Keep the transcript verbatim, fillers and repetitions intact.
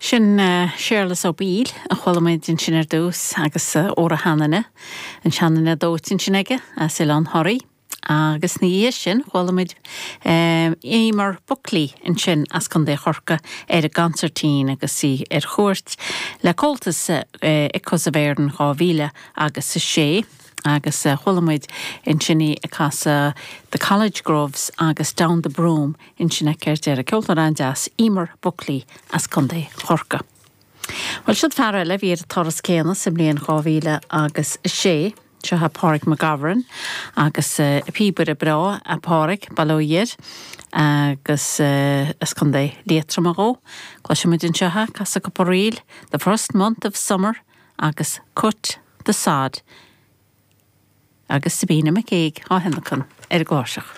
Sin Séarlas Ó Baoill a chuala muid ansin ar dtús agus Óra Sheanainne an seanainne dóite ansin aige as Oileán Thoraí. Agus ina dhiaidh sin chuala muid Eimear Buckley ansin as Contae Chorcaí ar an gconsairtín agus í ar chuairt le Comhaltas ICOS of Éireann dhá mhíle agus a sé. agus chuala muid ansin í ag casadh The College Groves agus Down the Broom ansin aici ar deireadh ceoltóir an-deas Eimear Buckley as Contae Chorcaí. Well siod fear eile bhí ar an turas céanna sa mbliain dhá mhíle agus a sé. Seo é Pádraig McGovern agus píobaire breá a Pádraig Balóir agus as Contae Liatroma dhó. Cloisfimid anseo ag casadh cúpla ríl, The First Month of Summer agus Cut the Sod. Agus Sabina McCaig á thionlacan ar an gcláirseach.